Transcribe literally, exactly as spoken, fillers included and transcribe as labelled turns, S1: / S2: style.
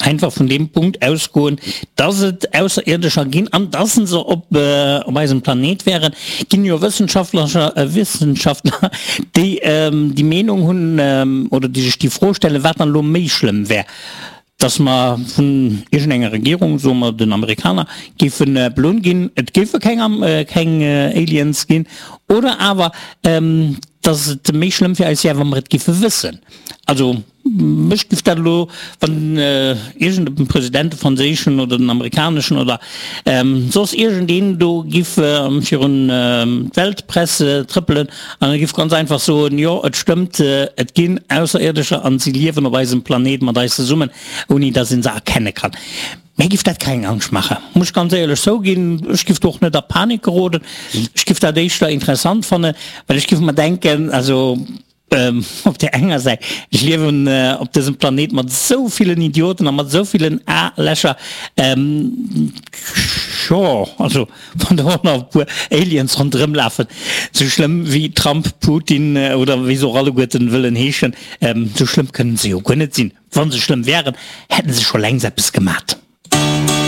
S1: Einfach vun deem Punkt ausgoen, dass et Ausserierdescher ginn an dass se op op eisem Planet wären, ginn jo Wëssenschaftler, Wissenschaftler, déi déi Meenung hunn oder déi sech déi Fro stellen, wat dann elo méi schlëmm wär, dass mer vun iergendenger Regierung, soe mer den Amerikaner, géife belohnt ginn, et géife keng keng Aliens ginn, oder awer dass et méi schlëmm fir eis wär, wa mer et géife wëssen. Also mech giff dat elo, wann iergend e President, de franséischen oder den amerikaneschen oder soss iergendeen do giff virun d'Weltpress trëppelen an e giff ganz einfach soen, jo et stëmmt, et ginn Ausserierdescher an si liewen op eisem Planet mat eis zesummen, ouni dass een se erkenne kann. Mir giff dat keng Angscht maachen, muss ech ganz éierlech zouginn. Ech giff do och net a Panik geroden. Ech giff dat éischter interessant fannen, well ech giff mer denken, also op där enger Säit, ech liewen op dësem Planet mat esou villen Idioten a mat esou villen A-Lächer, jo, also wann do och nach e puer Aliens ronderëm lafen, esou schlëmm wéi Trump, Putin oder wéi se och alleguerten wëllen heeschen, esou schlëmm kënnen se jo guer net sinn. Wa se schlëmm wären, hätten se scho längst eppes gemat.